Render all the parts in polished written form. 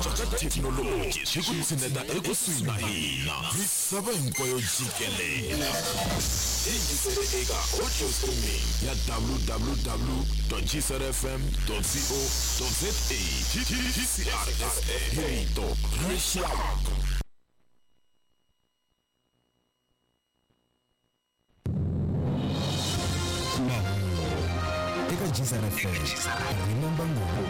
cinca ka thekinoloji swi ku tshineta ekusuhi na hina misava hinkwayo jikelele. Yingisele eka audio streaming ya www.gcrfm.co.za. GCRFM, rito ra rixaka. Mahungu eka GCR FM Remember Ngopfu.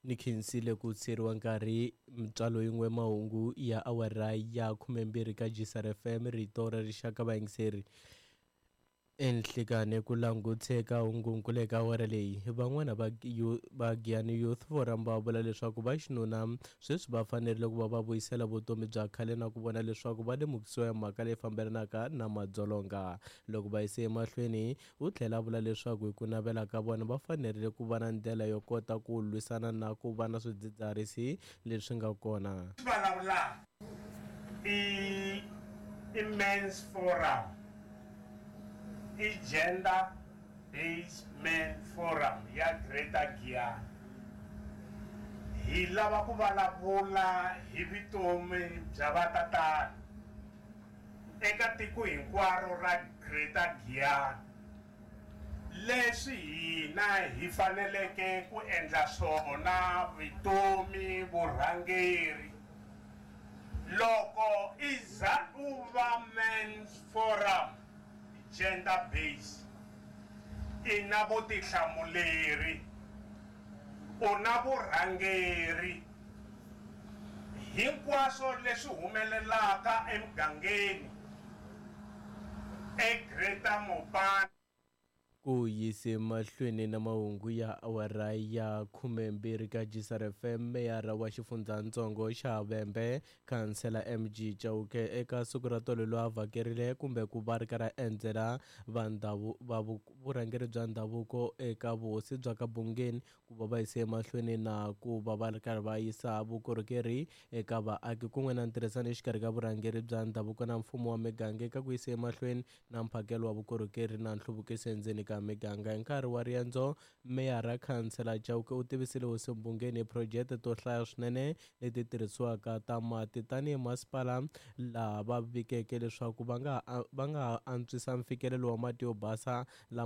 Ni khensile ku tsheriwa nkarhi mitswalo yin'we mahungu ya awara ya 12 ka GCR FM rito ra rixaka vayingiseri. Enhlikani ku languteka hungunkulu eka awara leyi van'wana va va Giyani Youth Forum va vula leswaku va xinuna sweswi va fanerile ku va va vuyisela vutomi bya khale na ku vona leswaku va lemukisiwa hi mhaka leyi fambelanaka na madzolonga. Loko va yise emahlweni u tlhela a vula leswaku hi ku navela ka vona va fanerile ku va na ndlela yo kota ku lwisana na ku va na swidzidziharisi leswi nga kona. Vulavulaka i i Men's Forum, i Gender Based Men Forum ya Greater Giyani. Hi lava ku vulavula hi vutomi bya vatatana eka tiko hinkwaro ra Greater Giyani, leswi hina hi faneleke ku endla swona vutomi vurhangeri. Loko i za u va Men's Forum Gender Based, i na vutihlamuleri, u na vurhangeri. Hinkwaswo leswi humelelaka emugangeni eGreater Mopani. Ku yise mahlweni na mahungu ya awara ya 12 ka GCR FM, meyara wa xifundzhantsongo xa Vhembe, Khansela MG Chauke eka siku ra tolo loyi a vhakerile kumbe ku va ri karhi a endzela va ndhavu va vurhangeri bya ndhavuko eka vuhosi bya ka Bungeni ku va va yise emahlweni na ku va va ri karhi va yisa vukorhokeri eka vaaki kun'we na ntirhisano exikarhi ka vurhangeri bya ndhavuko na mfumo wa miganga eka ku yisa emahlweni na mphakelo wa vukorhokeri na nhluvukiso endzeni ka miganga. Hi nkarhi wa riendzo, meyara Khansela Chauke u tivisile hosi Mbungeni hi phurojete to hlaya swinene leti tirhisiwaka ta mati tanihi masipala laha va vikeke leswaku va nga va nga ha antswisa mfikelelo wa mati yo basa lama